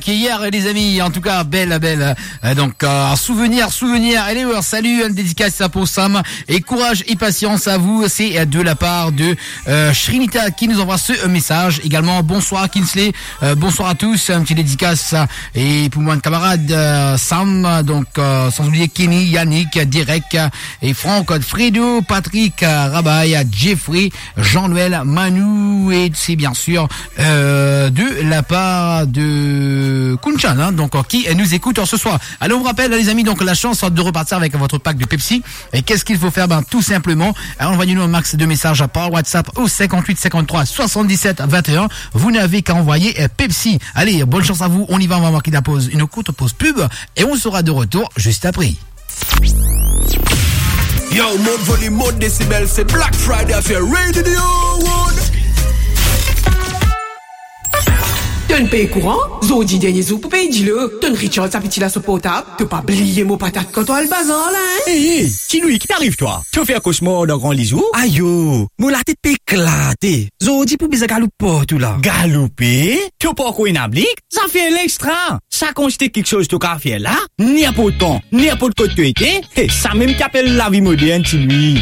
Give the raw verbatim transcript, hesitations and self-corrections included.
Hier, les amis, en tout cas, belle, belle. Euh, donc, euh, souvenir, souvenir. Allez, ouais, salut, une dédicace pour Sam. Et courage et patience à vous. C'est, euh, de la part de, euh, Shrinita qui nous envoie ce, euh, message. Également, bonsoir Kinsley. Euh, bonsoir à tous. Un petit dédicace, euh, et pour mon camarade, euh, Sam. Donc, euh, sans oublier Kenny, Yannick, Derek, euh, et Franck, Fredo, Patrick, euh, Rabaye, Jeffrey, Jean-Noël, Manou, et c'est bien sûr, euh, de la part de Kunchan, hein, donc, euh, qui nous écoute ce soir. Alors, on vous rappelle, les amis, donc, la chance de repartir avec votre pack de Pepsi. Et qu'est-ce qu'il faut faire ? Ben, tout simplement, hein, envoyez-nous un max de messages par WhatsApp au cinquante-huit cinquante-trois soixante-dix-sept vingt et un. Vous n'avez qu'à envoyer, euh, Pepsi. Allez, bonne chance à vous. On y va, on va marquer la pause, une courte pause pub, et on sera de retour juste après. Yo, mont volim, mont desibel, se Black Friday affaire Radio Wood. To'nn pey kouran? Zordi dernie zour pou pey dilo. To'nn recharge sa piti la so portab? To pa bliye mo patat kan to al bazar la, hein? Hey, hey, Ti Louis, ki ariv twa? To fer kosmar dan gran lizour? Ayo, mo latet pe eklate. Zordi pou bizin galoup partou la. Galoupe? To pankor ena blik? Zafer la extra. Sa kantite kiksoz to kapav fer la, ninport kan, ninport kot to ete, he, samem ki apel lavi modern, Ti Louis.